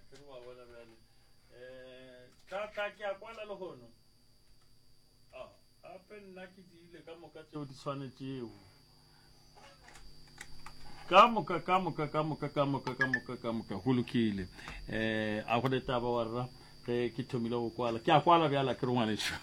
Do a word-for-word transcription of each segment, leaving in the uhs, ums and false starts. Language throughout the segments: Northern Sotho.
Ke re wa bona bjale. Eh, tla tla ke a kwala lehono. Ah, gape nna ke diile ka moka tšeo di swanetšego. Ka moka ka moka ka moka ka moka ka moka ka moka go lokile. Eh, a go le taba wa rra ge ke thomile go kwala. Ke a kwala bjala ke re ngwanešu.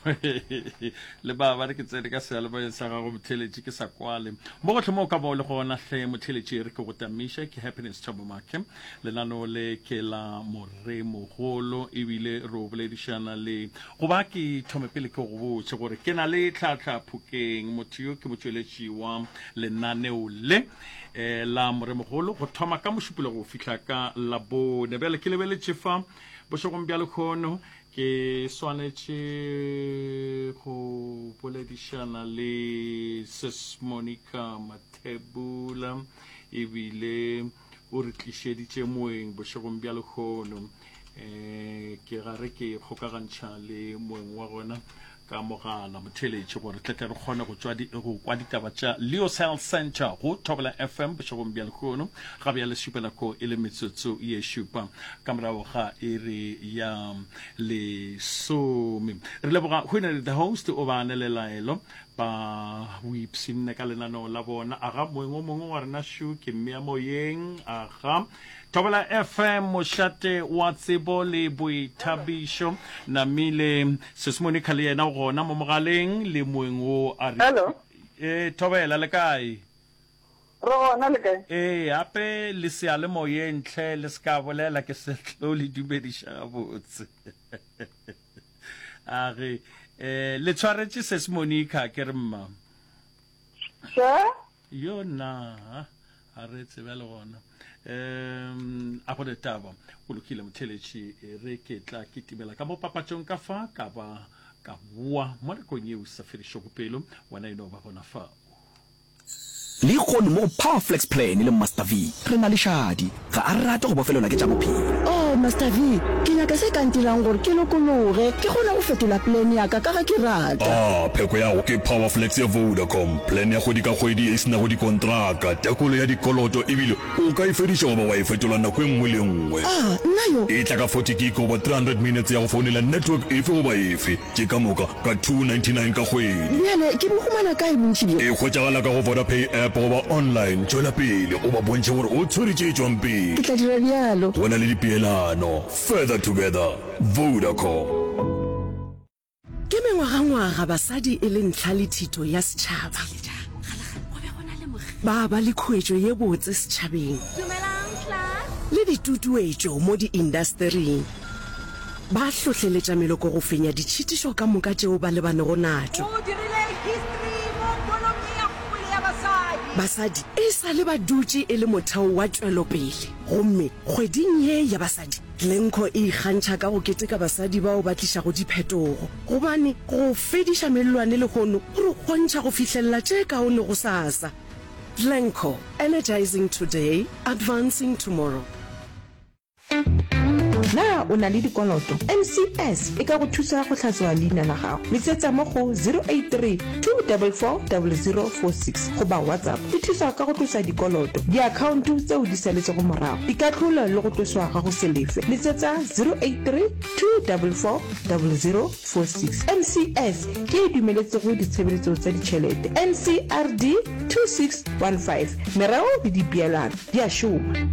Le ba ba re ke tsene ka seyalemoyeng sa gago motheletši ke sa kwale. Mo gohle mo o ka ba o le gona hle motheletši re ke go tamiše ke Happiness Thabo Makhe. Lenaneo le ke la Moremogolo ebile re o boledišana le goba ke thome pele ke go botše gore ke na le tlhahla Phokeng motho yo ke motšweletši wa lenaneo le eh, la Moremogolo go thoma ka Mošupologo go fihla ka Labone. Bjale ke lebeletše fa bošegong bja lekhono ke swanetše go boledišana le Sis Monica Mathebula ebile o re tlišeditše moeng bošegong bja lekhono. Um ke gare ke kgokagantšha le moeng wa gona ka mogala motheletši gore tle tle re kgone go tšwa go kwa ditaba tša Leo's Health Center go Thobela F M bošegong bja lekhono. Ga bjale šupa nako e le metsotso ye šupa ka morago ga iri ya lesome. Re leboga Winner the host o ba ne le laelo ba o ipshinne ka lenaneo la bona. Aga moeng o mongwe wa rena šu ke mmea moyeng. Aga Thobela F M, mošate wa tsebo le boithabišo. Namile Sis Monica le yena o gona mo mogaleng le moeng wo a re. Hello. E Thobela, le kae? Re gona, le kae? Ee, gape le seyalemoyeng hle, le se ka bolela ke se tlo le dumediša gabotse. A ge eh le tshwaretše Sis Monica ke re mma. Še? Yo nna a re tsebe le gona. Um a go taba go lokile motheletši re ke tla ke timela ka mo papatšong ka fa ka ba ka boa mo nakong yeo sa fedišego pelo wena e no ba gona fa. Lehono mo go Power Flex Plan le Master V re na le Shadi. Ga a rate go bofelelwa ke tša bophelo. Oh, Master V, ke nyaka se ka ntirang gore ke lokologe, ke kgone go fetola plan ya ka ka ge ke rata. Ah, pheko ya go ke Power Flex ya Vodacom, plan ya kgwedi ka kgwedi ye e se nago dikontraka, tekolo ya dikoloto ebile o ka e fediša goba wa e fetola nako e nngwe le e nngwe. Ah, nna yo. E tla ka forty gig goba three hundred minutes ya go founela network efe goba efe, tše ka moka ka two ninety nine ka kgwedi. Bjale ke bo humana kae bontši bjo? E hwetšagala ka go Vodapay app goba online. Tšwela pele o ba bontšhe gore o tshwere tše tšwang pele. Ke tla dira bjalo. Go na le dipeelano. Further together. Vodacom. Ke mengwagangwaga basadi e le ntlha le thito ya setšhaba. Ba ba le khuetšo ye botse setšhabeng le ditutuetšo mo diindastering. Ba hlohleletša meloko go fenya ditšhitišo ka moka tšeo ba lebanego natšo. Basadi e sa le ba dutše e le motheo wa tšwelopele gomme kgweding ye ya basadi, Glencore e ikgantšha ka go keteka basadi bao ba tlišago diphetogo, gobane go fediša mellwane lehono go re kgontšha go fihlelela tše kaone gosasa. Glencore, energizing today, advancing tomorrow. Na o na le dikoloto? N C S e ka go thusa go hlatswa leina la gago. Letsetsa mo go zero eight three, two four four, zero zero four six goba WhatsApp. E thusa ka go tlosa dikoloto, diakhaonto tseo di saletšego morago, dikahlolo le go tloswa ga go se lefe. Letsetsa zero eight three, two four four, zero zero four six. N C S ke e dumeletsego ditshebeletso tsa ditšhelete. N C R D two six one five. Mereo le dipeelano di a šoma.